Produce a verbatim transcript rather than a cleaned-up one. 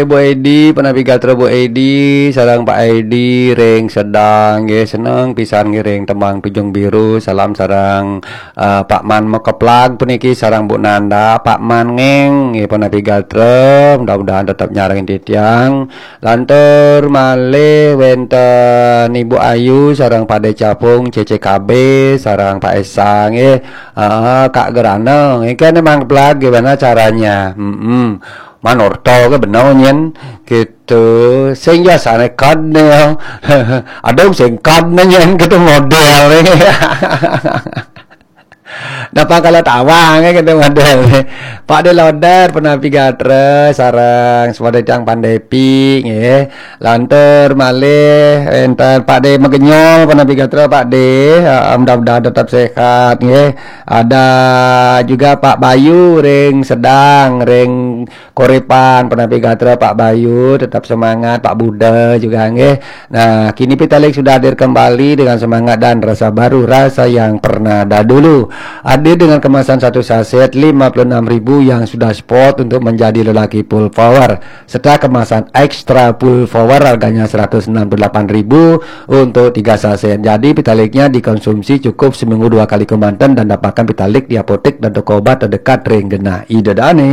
Bu Edi, penapi gatra Bu Edi, sareng Pak Edi ring Sedang, nggih, seneng pisan ngiring tembang Pijung Biru, salam sareng, eh, Pak Man Mekeplag puniki, sareng Bu Nanda, Pak Man Ngeng, nggih, penapi gatra, mudah-mudahan tetep nyarengin titiang. Lantur malih wenten Ibu Ayu, sareng Pak De Capung, C C K B, sareng Pak Esa, nggih, eh, Kak Gerana, nggih, kan emang keplag, gimana caranya? Mm-mm. Manurta ke bener nyen gitu. Sing ya sane kad ne ya. Ada sing kad ne nyen gitu model ne. Napa kalau tawang ya gitu model ne. Pak De Loder, penapi gatra, sareng sepada tiang Pandepi nggih. Lantur malih enten Pak De Megenyol, penapi gatra Pak De. Heeh, mudah-mudahan tetap sehat nggih. Ada juga Pak Bayu ring Sedang, ring Korepan, penapi gatra Pak Bayu, tetap semangat, Pak Buda juga nggih. Nah, kini Pitalik sudah hadir kembali dengan semangat dan rasa baru, rasa yang pernah dahulu. Hadir dengan kemasan satu saset lima puluh enam ribu yang sudah spot untuk menjadi lelaki full power, serta kemasan extra full power harganya seratus enam puluh delapan ribu untuk tiga saset. Jadi Pitaliknya dikonsumsi cukup seminggu dua kali kemanten dan dapatkan Pitalik di apotek dan toko obat terdekat ring genah Ida Dane.